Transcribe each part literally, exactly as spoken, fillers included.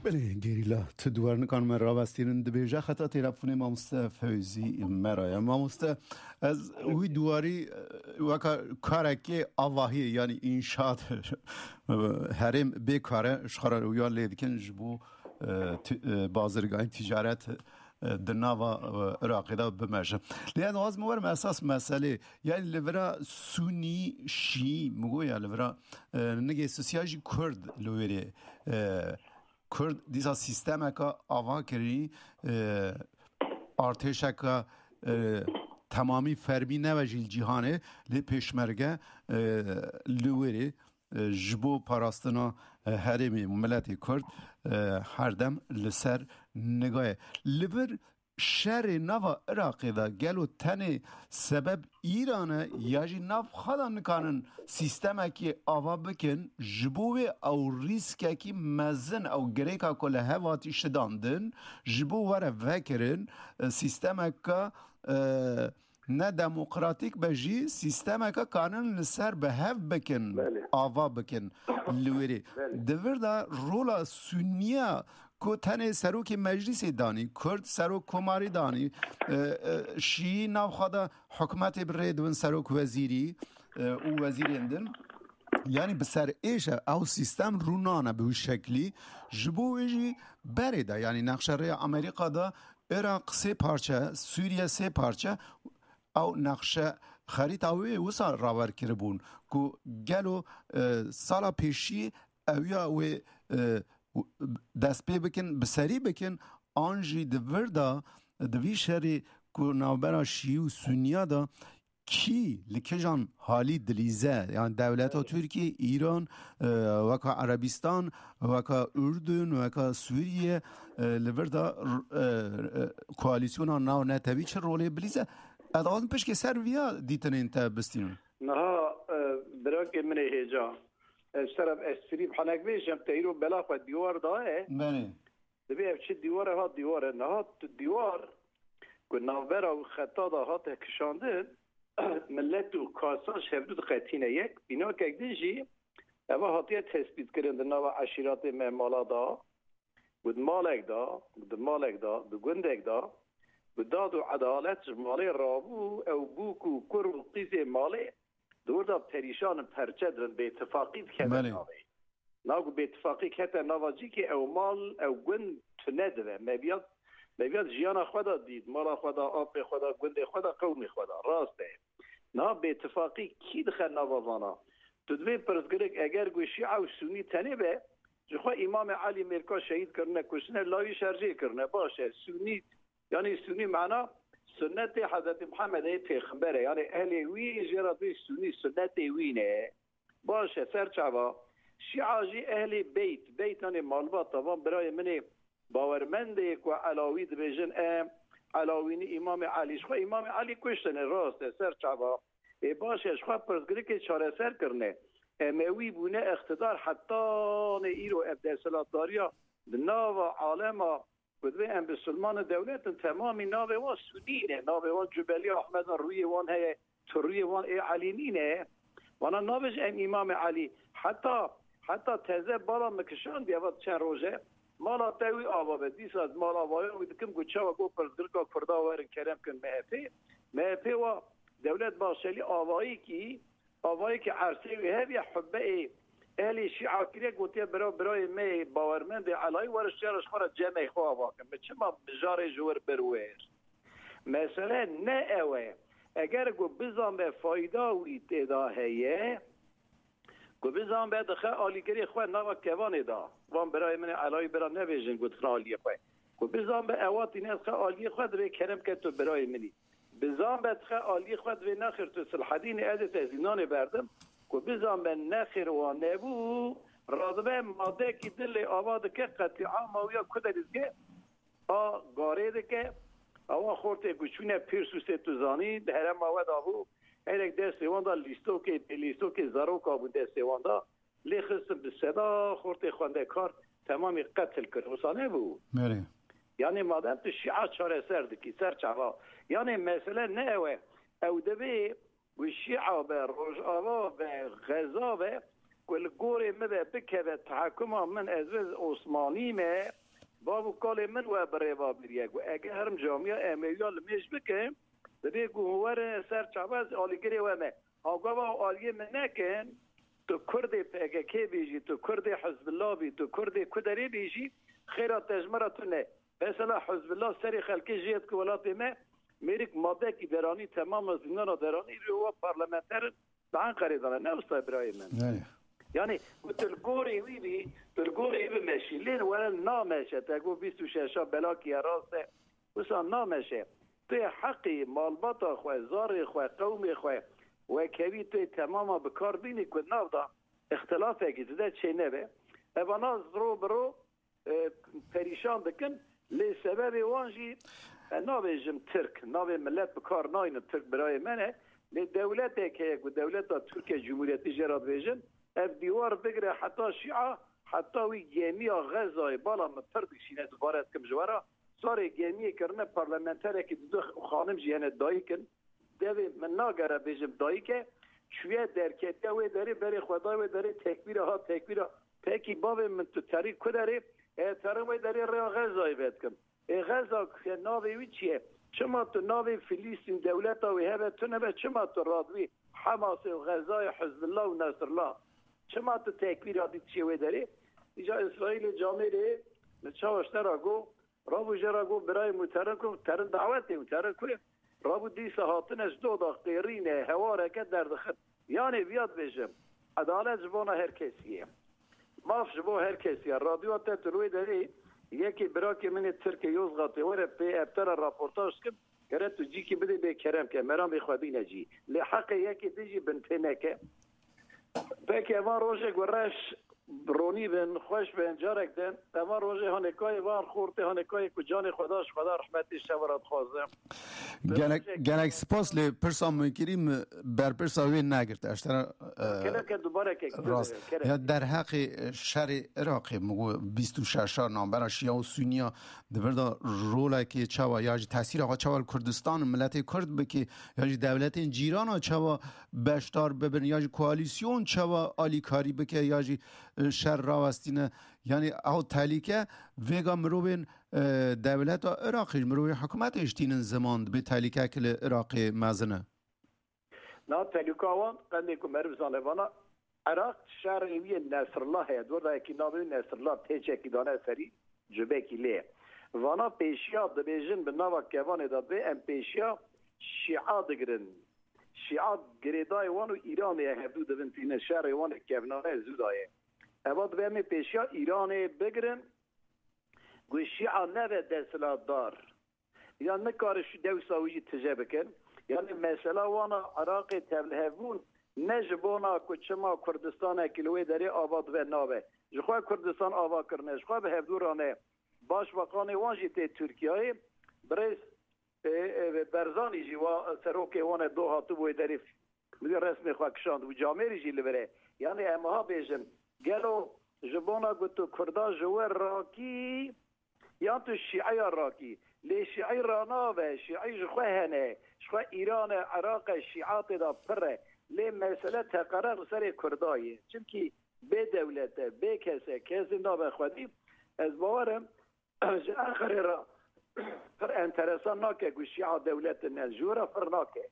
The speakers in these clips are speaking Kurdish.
Belê, gerîla, tu duwarinikan me rawestînin dibêje xeta têlefonê mamoste Fewzî me re ye. Mamoste, ez wî duwarî, e, weka karekê avahiyê, yanî înşaat, herêm bê kare ji xwe re wiya lê dikin ji bo, e, ti-, e, bazirgahî ticaret, e, di nava, e, Iraqê de bimeje. Lê ez dixwazim werim esas meselê, yanî li vira Sunî, Şîî, min got ya li vira, e, nigê sisiya jî Kurd li wêrê, e, Kurd dîsa sîstemeka ava kirî, e, artêşeka, e, temamî fermî nebe jî li cîhanê, lê pêşmerge, e, li wêrê, e, ji bo parastina, e, herêmê û miletê Kurd, e, herdem li ser niga ye. Li vir şerê nava Iraqê de gelo tenê sebeb Îran e ya jî nav xwe de nikarin sîstemekî ava bikin, ji bo wê ew rîskekî mezin, ew girêka ku li hev hatî şidandin, ji bo were vekirin, e, sîstemeke, e, ne demokratîk be jî, sîstemeke kanin li ser bi hev bikin, Belê. ava bikin li wêrê. Belê. Di vir de rola Suniya ku tenê serokê meclîsê danî, Kurd serok komarî danî, e, e, Şîî nav xwe de hikûmetê bi rê dibin serok wezîrî, e, û wezîrên din. Yanî bi ser êş e, ew sîstem rûnane bi wî şeklî. Ji bo wê jî berê de, yanî nexşe rêya Amerîka de Iraq sê parçe, Sûriye sê parçe, ew nexşe xerîta wê wisa rawer kiribûn ku gelo, e, sala pêşî ew ya wê, e, dest pê bikin, bi serî bikin, an jî di vir de, di vî şerî ku navbera Şîî û Suniya de kî li kîjan halî dilîze, yani dewleta Tirkî, Îran, e, weka Erebistan, weka Urdun, weka Sûriye, e, li vir de, e, e, koalîsyona navnetewî çi rolê bilîze? Ez dixwazim pişkê ser viya dîtinên te bistînim. Niha, e, birakê min ê hêja, ez ser ev esprî bi henek vêjim, te îro bela xwe dîwar daye. Belê. Dibê ev çi dîwar e, ha dîwar e. Niha tu dîwar ku navbera û xeta de hate kişandin, millet û kasan ji hevdû diqetîne yek. Bînakek din jî eva hatiye tespîtkirin di nava eşîratê me mala da. Û di malek de, di malek de, di gundek de, bi dad û edalet ji malê rabû, ew bûk û kur û qîzê malê di wir de perîşan in, perçe dibin, bêtifaqî dikeve Belê. navê. Na ku bêtifaqî kete nava cîkê, ew mal, ew gund tune dibe. Meviyat, meviyat jiyana xwe de dît, mala xwe de, apê xwe de, gundê xwe de, qewmê xwe de. Rast e. Niha bêtifaqî kî dixe nava vana? Tu divê pirsgirêk, eger ku Şîa û Sûnî tenê be, ji xwe Îmamê Elî mêrka şehîd kirine, kuştine, lawî şerjê kirine. Baş e, Sûnî, yanî Sûnî mana sunnetê Hezretî Mihemedê pêxember e. Yanî ehlê wî jê re bê Sûnî, sunnetê wî ne. Baş e, ser çava. Şîa jî ehlê beyt, beyt yanî malbata van birayê min ê bawermendê ku Elawî dibêjin, em Elawînî Îmamê Elî. Ji xwe Îmamê Elî kuştine, rast e, ser çava. Ê baş e, ji xwe pirsgirêkê çareser kirine. Emewî bûne îqtidar hetanê îro ev desthilatdariya di nava alema ku divê em bisilman û dewlet in, temamî navê wan Sunî ne. Navê wan Cubelî Ahmed in, rûyê wan heye, tu rûyê wan ê Elî nîne. Vana nabêje em Îmamê Elî. Heta, heta teze bala min kişandiye, eva çend roj e. Mala te wî ava be. Dîsa ez mal avaya wî dikim, got çawa, got pirsgirêka Kurda werin kerem kin M H P. M H P wa Dewlet Bahçelî avayî kî, avayî kî ersê wî heviye hubbe ê ehlê Şîa kiriye, gotiye bira, birayê me yê bawermendê Elayî, were ji re ji xwe re cemê xwe ava kin. Min çima mijarê ji wir bir wir? Mesele ne ew e. Eger ku bizanbe fayda wî tê de heye, ku bizanbe dixe alîgirê xwe nava kevanê de. Van birayê min ê Elayî bira nebêjin ku dixin aliyê xwe. Ku bizanbe ewa tîne dixe aliyê xwe, divê kerem ke tu birayê min î. Bizanbe dixe aliyê xwe, divê nexêr tu Silhedînê, ez ê te zîndanê berdim. Ku bizanbe nexêr wan nebû, radibe madekî din lê ava dike, qetlîama wî ya ku derî dike, a garê dike. Awa xortê ku çûne Pîrsûsê, tu zanî, di herêma we de bû. Herek destê wan de lîstokê, pê lîstokê zaroka bû destê wan de. Lê xistin bi seda xortê xwendekar temamî qetil kir. Wisa nebû? Belê. Yanî madem tu Şîa çareser dikî, ser çava. Yanî mesele ne ew e. Ew divê ku Şîa be, Rojava be, Xeza be, ku li gorê min ve bikeve tehekuma min, ez wê Osmanî me, bav û kalê min we bi rêva biriye ku ege herim camiya Emewîya li mêj bike, dibê ku hûn werin ser çava, ez alîgirê we me. Ha gava aliyê min nekin, tu Kurdê P K K bêjî, tu Kurdê Hizbullah bî, tu Kurdê Kuderê bêjî, xêra te ji me re tune. Mesela Hizbullah serê xelkê jê dike welatê me, mêrik madekî deranî, temama zîndana deranî, rê wa parlamenter in, bi Enqerê dane. Ne wisa birayê min. Yani, ku tu li gorê wî bî, tu li gorê wî bimeşî. Lê were nameşe, te got bîst û şeşa belakî ye, rast e. Wisa nameşe. Tu yê heqî malbata xwe, zarê xwe, qewmê xwe, wekevî tu yê temama bi kar bînî ku nav da îxtilafekî tu de çê nebe. Evana ro bi ro, e, perîşan dikin. Lê sebebê wan jî, e, nabêjim Tirk, navê milet bi kar naynin, Tirk birayê me ne. Lê dewletek heye ku dewleta Tirkiye Cumhuriyetî jê re dibêjin, ev dîwar bigire heta Şîa, heta wî gemiya Xezayê, bala min pir dikişîne, dubare dikim ji we re. Sarê gemiyê kirine parlamenterekî didu xanim jî hene dayik in. Devê min nagere bêjim dayik e. Çûye derketiye wê derê, berê xwe dayê wê derê, tekbîra ha tekbîra. Pekî bavê min, tu terî ku derê? E, terim wê derê rêya Xezayê vedikim. Ê Xeza ku ye, navê wî çi ye? Çima tu navê Filîstîn, dewleta wê hebe, tu nebe, çima tu radwî Hemasê û Xezayê, Hizbullah û Nesrullah? Çima tu tekbîra dî çê wê derê? Îca Îsraîlê camêrê min çawa ji te re got, rabû jê re got, birayê min, terin ku, terin dawetê min, terin ku ye? Rabû dîsa hatine ji doda qêrîne, hewareke derdixin. Yanê viya dibêjim, edalet ji bona her kesî ye. Maf ji bo her kesî ye. Radyoya te tu li wê derê yekê birakê min ê Tirkê Yozgatê were pê ev te re raportaj dikim. Gere tu cîkî bidê bê kerem ke, meramê xwe bîne cî. Lê heqê yekê din jî bin pê neke. Peki evan rojek we reş, ronî bin, xweş bin, carek din. Evan rojê hanê kayê van xortê hanê kayê ku canê xwe da ji Xweda rehmetê şeva re dixwazim. Gelek, gelek spas, lê pirsa min kirî, min berpirsa wê negirt. Ez te re, e, Kerem ke dubareke rast. Kerem. Ya derheqê şerê Iraqê, min got bîst û şeş a navbera Şîa û Suniya di vir de rolekê çawa, ya jî tesîra xwe çawa li Kurdistan û miletê Kurd bike, ya jî dewletên cîrana çawa beşdar bibin, ya jî koalîsyon çawa alîkarî bike, ya jî, e, şer rawestîne. Yanî ew tehlîke vêga mirovên, e, dewleta Iraqê, mirovên hikûmetê jî tînin ziman, dibê tehlîkek li Iraqê mezin e. Na tehlîka wan qendê ku meriv zane vana, Iraq şerê wî yê Nesrullah heye. Di wir de yekî navê wî Nesrullah têçekî dane serî, cubekî lê. Vana pêşiya dibêjin bi nava kevanê de dibê em pêşiya Şîa digirin. Şîa girêdayê wan û Îranê ye, hevdû dibin tînin şerê wan ê kevnane zû daye. Eva dibê em ê pêşiya Îranê bigirin, ku Şîa nebe desthilatdar. Ya nikare şu dewsa wî jî tije bikin. Yani mesela wana Iraqê tevlihevbûn ne ji bona ku çima Kurdistanekî li wê derê ava dibe nabe. Ji xwe Kurdistan ava kirine, ji xwe bi hevdû rane. Başbakanê wan jî tê Tirkiyeyê. Birêz, e, e, Berzanî jî wa serokê wan e do hatibû wê derê. Wî resmê xwe kişand û camêrî jî li vir e. Yani em ha bêjin, gelo ji bona ku tu Kurda ji we rakî, yan tu Şîeya rakî? Lê Şîî ranabe, Şîî ji xwe hene, ji xwe Îran e, Iraq e, Şîa tê de pir e. Lê mesele teqere li serê Kurda ye. Çimkî bê dewlet e, bê kes e, kesê nabe xwedî. Ez bawer im, ji Enqerê re pir enteresan nake ku Şîa dewlet in, ji we re pir nake.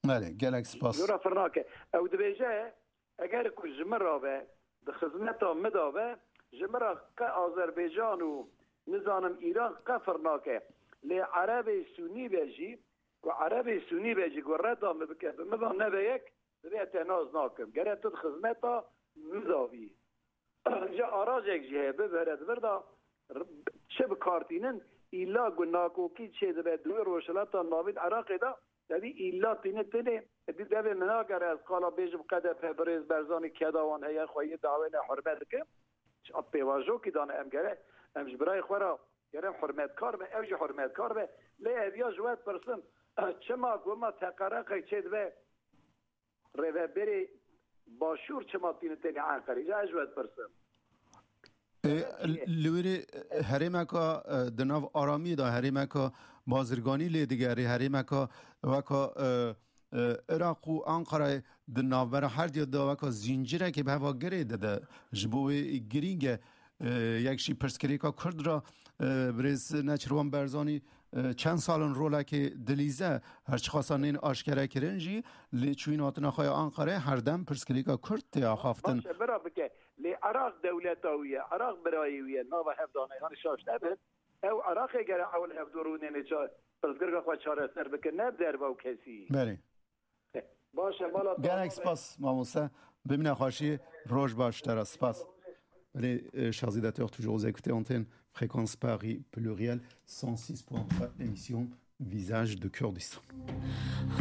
Belê, gelek spas. Ji we re pir nake. Ew dibêje, eger ku ji min re be, di xizmeta min de be, ji min re qe Azerbaycan û, nizanim, Îran qe pir nake. Lê Erebê Sûnî be jî, ku Erebê Sûnî be jî ku reda min bike, bi min de nebe yek, divê te nas nakim. Gere tu di xizmeta min de bî. Ji arajek jî heye, bibere di vir de r-, çi bi kar tînin, îlla ku nakokî çêdibe di wê Rojhilata Navîn Iraqê de, tevî îlla tîne tenê, di devê min nagere ez qala bêjim K D P birêz Berzanî keda wan heye, xwe yê dawêne hurmet dike. Pêvajokî dane em gere, em ji birayê xwe re gere hurmetkar be, ew jî hurmetkar be. Lê ev ya ji we dipirsim, çima ku ma teqereqek çêdibe, rêveberê Başûr çima tîne tenê Enqerê? Îca ez ji we dipirsim. E, li wê rê, e, herêmeka, e, di nav aramiyê de, herêmeka bazirganî lê digerê, herêmeka weka, e, e, Iraq û Ankarayê di navbera her diya daweka zîncireke bi heva girê de de ji bo wê girîng e. E, yek jî pirsgirêka Kurd ra, e, birêz Neçirvan Berzanî, e, çend sal in rolekê dilîze, her çiqasa nên aşkere kirin jî, lê çûyîn hatina xwe ya Ankarayê her dem pirsgirêka Kurd tê axaftin. Baş e, bira bike. Lê Iraq dewleta wî ye, Iraq birayê wî ye, nava hevdane, yanî şaş nebin. Ew Iraqê gere ew li hevdû rûnên ê ça-, pirsgirêka xwe çareser bikin, ne bi derve û kesî. Belê. Baş e, mala te Gelek spas, mamoste. Bimîne xweşî, roj baş te re. Spas. Belê, e, Shazî Detor, tu ji Oze Kutê Antenne, Fréquence Paris Pluriel, cent six point trois, émission Visage de Kurdistan.